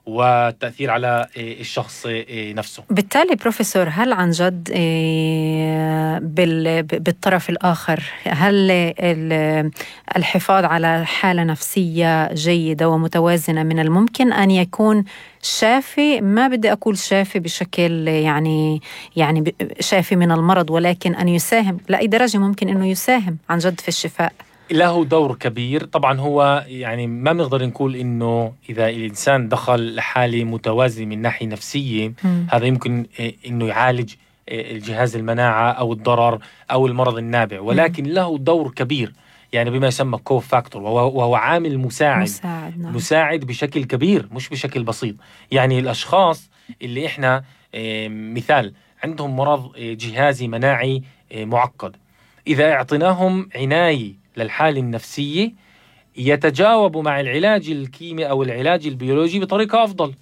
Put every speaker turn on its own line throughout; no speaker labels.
والتأثير على الشخص نفسه.
بالتالي بروفيسور، هل عن جد بالطرف الآخر هل الحفاظ على حالة نفسية جيدة ومتوازنة من الممكن أن يكون شافي؟ ما بدي أقول شافي بشكل يعني شافي من المرض، ولكن أن يساهم لأي درجة ممكن أنه يساهم عن جد في الشفاء؟
له دور كبير طبعا. هو يعني ما بنقدر نقول إنه إذا الإنسان دخل لحالة متوازنة من ناحية نفسية هذا يمكن إنه يعالج الجهاز المناعة أو الضرر أو المرض النابع، ولكن له دور كبير يعني بما يسمى كو فاكتور، وهو عامل مساعد بشكل كبير مش بشكل بسيط. يعني الأشخاص اللي إحنا مثال عندهم مرض جهازي مناعي معقد، إذا اعطيناهم عناية للحالة النفسية يتجاوبوا مع العلاج الكيميائي أو العلاج البيولوجي بطريقة أفضل.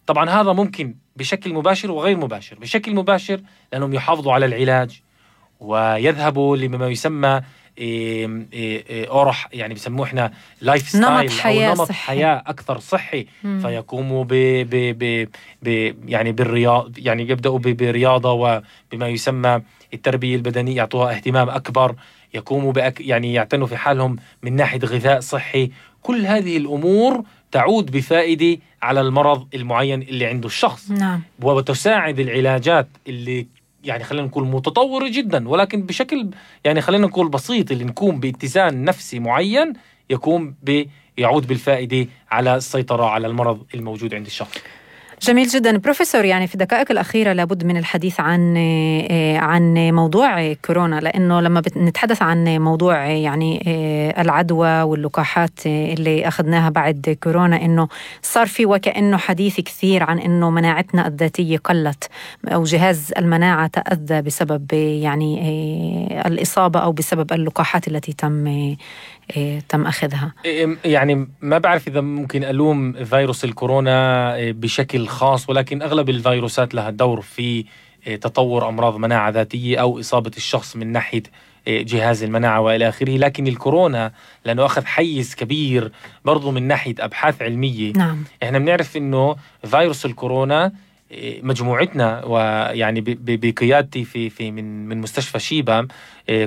طبعا هذا ممكن بشكل مباشر وغير مباشر. بشكل مباشر لأنهم يحافظوا على العلاج ويذهبوا لما يسمى أورح، يعني بسموه إحنا لايف ستايل أو نمط حياة أكثر صحي. فيقوموا يعني بالرياضة، يعني يبدأوا برياضة وبما يسمى التربية البدنية، يعطوها اهتمام أكبر، يقوموا يعني يعتنوا في حالهم من ناحية غذاء صحي. كل هذه الأمور تعود بفائدة على المرض المعين اللي عنده الشخص.
نعم.
وتساعد العلاجات اللي يعني خلينا نقول متطورة جدا ولكن بشكل يعني خلينا نقول بسيط، اللي نكون باتزان نفسي معين يقوم يعود بالفائدة على السيطرة على المرض الموجود عند الشخص.
جميل جدا بروفيسور. يعني في الدقائق الأخيرة لابد من الحديث عن موضوع كورونا، لأنه لما نتحدث عن موضوع يعني العدوى واللقاحات اللي أخذناها بعد كورونا، إنه صار في وكأنه حديث كثير عن إنه مناعتنا الذاتية قلت أو جهاز المناعة تأذى بسبب يعني الإصابة أو بسبب اللقاحات التي تم أخذها.
يعني ما بعرف إذا ممكن ألوم فيروس الكورونا بشكل خاص، ولكن أغلب الفيروسات لها دور في تطور أمراض مناعة ذاتية أو إصابة الشخص من ناحية جهاز المناعة وإلى آخره. لكن الكورونا لأنه أخذ حيز كبير برضو من ناحية أبحاث علمية.
نعم.
إحنا بنعرف إنه فيروس الكورونا مجموعتنا ويعني بقيادتي في من مستشفى شيبا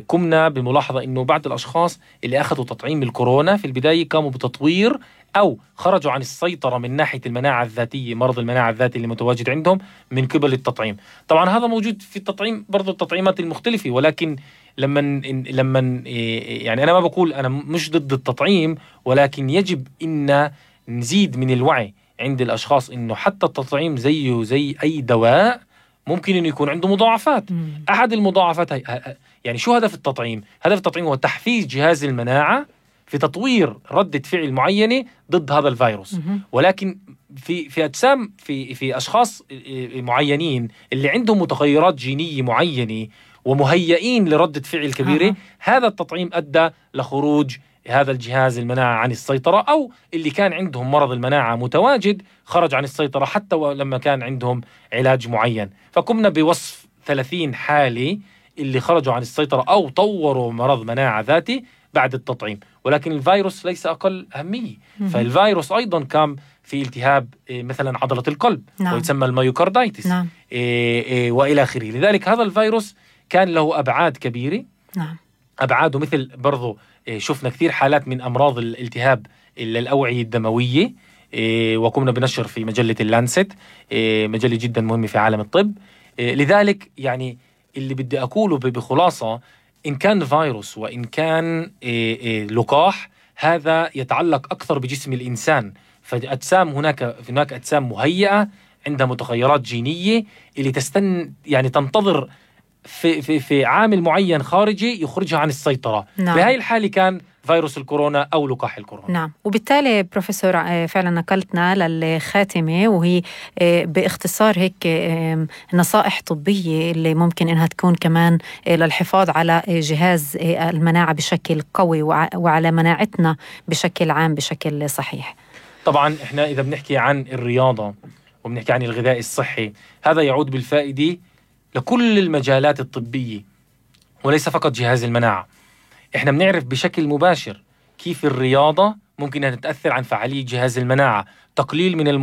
قمنا بملاحظة إنه بعض الأشخاص اللي أخذوا تطعيم الكورونا في البداية قاموا بتطوير أو خرجوا عن السيطرة من ناحية المناعة الذاتية، مرض المناعة الذاتي اللي متواجد عندهم من قبل التطعيم. طبعا هذا موجود في التطعيم برضو التطعيمات المختلفة، ولكن لما يعني أنا ما بقول أنا مش ضد التطعيم، ولكن يجب إن نزيد من الوعي عند الأشخاص إنه حتى التطعيم زيه زي أي دواء ممكن إنه يكون عنده مضاعفات. أحد المضاعفات يعني شو هدف التطعيم؟ هدف التطعيم هو تحفيز جهاز المناعة في تطوير ردة فعل معينة ضد هذا الفيروس. ولكن في أجسام في أشخاص معينين اللي عندهم متغيرات جينية معينة ومهيئين لردة فعل كبيرة، هذا التطعيم أدى لخروج هذا الجهاز المناعة عن السيطرة، أو اللي كان عندهم مرض المناعة متواجد خرج عن السيطرة حتى لما كان عندهم علاج معين. فقمنا بوصف 30 حالة اللي خرجوا عن السيطرة أو طوروا مرض مناعة ذاتي بعد التطعيم. ولكن الفيروس ليس أقل أهمية. فالفيروس أيضا كان في التهاب مثلا عضلة القلب. نعم. ويسمى الميوكاردايتس.
نعم.
وإلى آخره. لذلك هذا الفيروس كان له أبعاد كبيرة.
نعم.
أبعاده مثل برضو شفنا كثير حالات من أمراض الالتهاب الأوعية الدموية، وقمنا بنشر في مجلة اللانست، مجلة جدا مهمة في عالم الطب. لذلك يعني اللي بدي أقوله بخلاصة، إن كان فيروس وإن كان لقاح، هذا يتعلق أكثر بجسم الإنسان. فأجسام هناك أجسام مهيئة عندها متغيرات جينية اللي يعني تنتظر في عامل معين خارجي يخرجها عن السيطرة.
نعم.
بهاي الحالة كان فيروس الكورونا أو لقاح الكورونا.
نعم. وبالتالي بروفيسور فعلا نقلتنا للخاتمة، وهي باختصار هيك نصائح طبية اللي ممكن إنها تكون كمان للحفاظ على جهاز المناعة بشكل قوي وعلى مناعتنا بشكل عام بشكل صحيح.
طبعا إحنا إذا بنحكي عن الرياضة وبنحكي عن الغذاء الصحي، هذا يعود بالفائدة لكل المجالات الطبية وليس فقط جهاز المناعة. إحنا بنعرف بشكل مباشر كيف الرياضة ممكن أن تتأثر عن فعالية جهاز المناعة، تقليل من المؤشرات